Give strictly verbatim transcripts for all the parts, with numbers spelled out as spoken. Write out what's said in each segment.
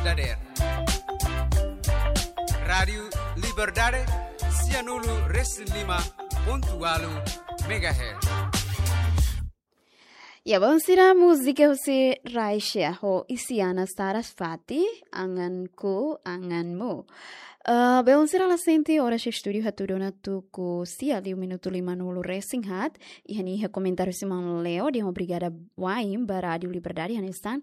dadeer. Rádiu Liberdade, sianulu resin lima pontu ualu megahertz. Ya, belun sira, múzika husi Raisha ho Isyana Sarasvati, Angan-ku Anganmu. Eh, belun sira, la sente oras estúdiu hatudu ona tuku sia liu minutu lima nulu resin haat, iha ne'e iha komentáriu husi maun Leo, dehan obrigada wa'in ba Rádiu Liberdade, hanesan,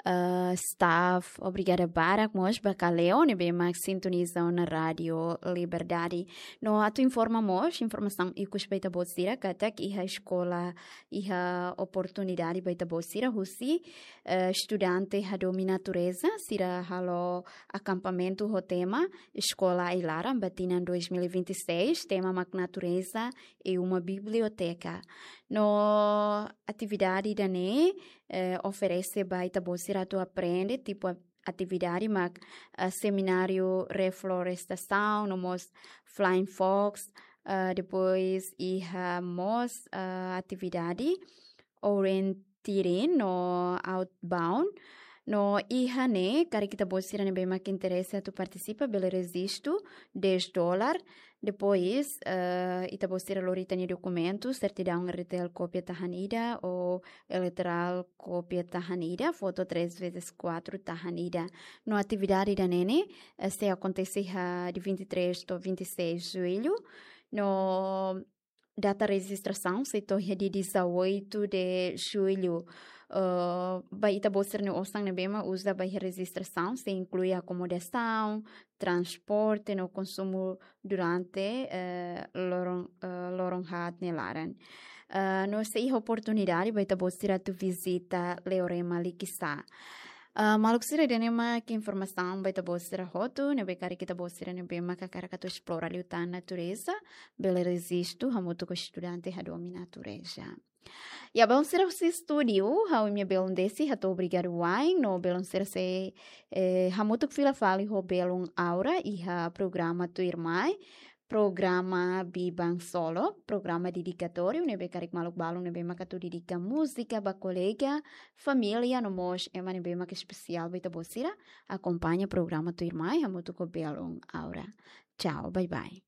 eh, staff, obrigada barak mós ba Kaleo, ne'ebé mak sintoniza ona Rádiu Liberdade. No atu informa mós, informasaun ikus ba ita-boot sira, katak iha eskola, iha oportunidade ba ita-boot sira husi, eh, estudante hadomi natureza, sira halo akampamentu ho tema Eskola Ai-Laran ba tinan dois mil e vinte e seis, tema mak natureza e uma biblioteka. No atividade ida-ne'e, eh, oferese ba ita-boot sira atu aprende, tipu a-, atividade mak, eh, semináriu reflorestasaun, no mós Flying Fox, eh, depois iha mós, eh, atividade orienteering no outbound. No iha ne'e, karik ita-boot sira ne'ebé mak interese atu partisipa, bele rejistu dez dólar. Depois, eh, ita-boot sira lori ita-nia dokumentu, sertidaun R T L kópia tahan ida, ou eleitorál kópia tahan ida, foto três vezes quatro tahan ida. No atividade ida-ne'e, eh, sei akontese iha de vinte e três to'o vinte e seis de julho. No data rejistrasaun sei to'o iha dia dezoito de julho. Eh, ba ita-boot sira-nia osan ne'ebé mak uza ba iha rejistrasaun, sei inklui akomodasaun, transporte no konsumu durante, eh, loron, eh, loron haat nia laran. Eh, no sei iha oportunidade ba ita-boot sira atu vizita Leorema Likisá. Ah, maluk sira, ida-ne'e mak informasaun ba ita-boot sira hotu, ne'ebé karik ita-boot sira ne'ebé mak hakarak atu esplora liután natureza, bele rejistu hamutuk ho estudante hadomi natureza. Ya, belun sira husi estúdiu, ha'u-nia belun Desi, hato'o obrigadu wa'in, no belun sira sei, eh, hamutuk fila fali ho belun Aura, iha programa tuirmai, programa Biban Solo, programa dedikatóriu, ne'ebé karik maluk balun ne'ebé mak atu dedika múzika ba kolega, família, no mós ema ne'ebé mak espesiál ba ita-boot sira, akompaña programa tuirmai, hamutuk ho belun Aura. Tchau, bye bye.